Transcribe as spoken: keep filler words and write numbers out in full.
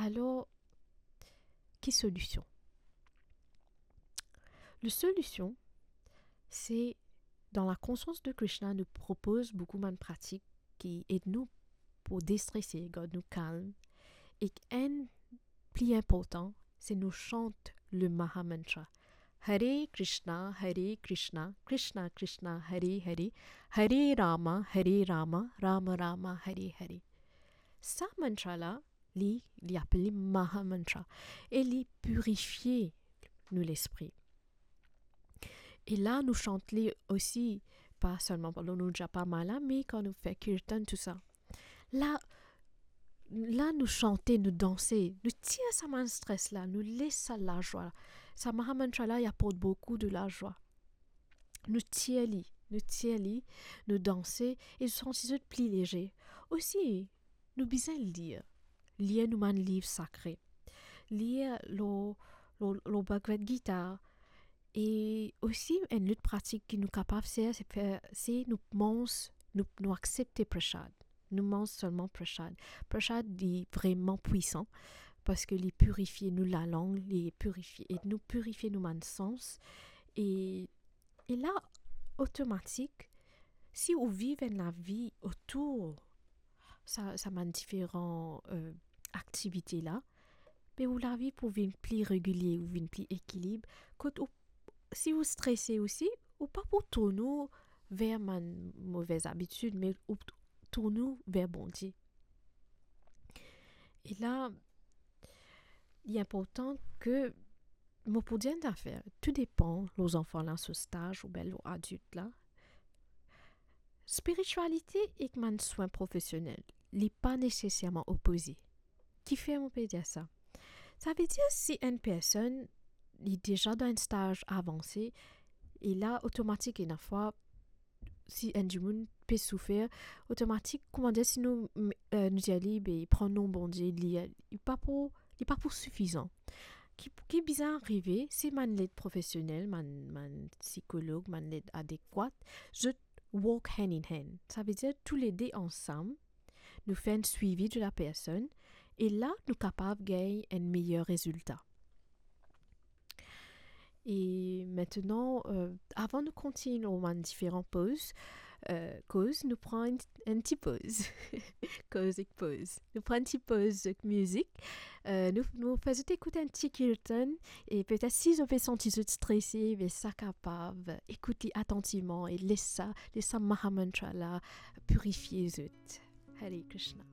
Alor, ki solision? Le solision, se dan la konsians de Krishna, nou propoz boukou bann pratik ki ed nou pou destrese, gard nou kalm, ek enn pli inportan, se nou sant le Maha Mantra. Hare Krishna, Hare Krishna, Krishna Krishna, Hare Hare, Hare Rama, Hare Rama, Rama Rama, Hare Hare. Sa mantra la, li, li apel li Maha Mantra, e li pirifie nou lespri. E la, nou sant li osi, pa selman pandan nou japama la, me kan nou fer kirtan, tou sa. La, la nou sante, nou danse, nou tir sa bann stres la, nou les sa lazwa la. Sa Maha Mantra la, li aport boukou de lazwa. Nou tir li, nou tir li, nou danse, e nou santi zot pli lezer. Osi, nou bizin lir. Lir nou bann liv sakre. Lir lor, lor, lor Bhagavad Gita. E osi, enn lot pratik ki nou kapav fer, se fer, se nou manz, nou, nou aksepte prasad. Nou manz selman prasad. Prasad, li vreman pwisan, parski li pirifie nou lalang, li pirifie, ed nou pirifie nou bann sans. E, e la, otomatik, si ou viv enn lavi otour sa, sa bann diferan, eh, aktivite la, be ou lavi pou vinn pli regilie, ou vinn pli ekilib. Kot ou, si ou strese osi, ou pa pou tourn ou ver bann move abitid, me ou t-, tourn ou ver Bondie. E la, li inportan ke mo pou dir enn zafer, tou depan lor zanfan la so staz oubien lor adilt la. Spiritialite ek bann swin profesionel, li pa neseserman opoze. Kifer mo pe dir sa? Savedir si enn personn, li deza dan enn staz avanse, e la, otomatik, ena fwa, si enn dimoun pe soufer, otomatik, koumadir si nou, m-, eh, nou dir li, be, pran nom Bondie, li, li pa pou, li pa pou sifizan. Ki, ki bizin arive, si bann led profesionel, bann, bann sikolog, bann led adekwat, zot work hand in hand. Savedir, toulede ansam, nou fer enn swivi de la personn, e la, nou kapav gagn enn meyer rezilta. E aster, eh, avan nou kontign lor bann diferan poz, eh, koz, nou pran enn, enn ti poz. Koz ek poz. Nou pran enn ti poz ek mizik. Eh, nou, nou fer zot ekout enn ti kirtan, e petet si zot pe santi zot strese, be sa kapav ekout li atantivman e les sa, les sa Maha Mantra la pirifie zot. Hare Krishna.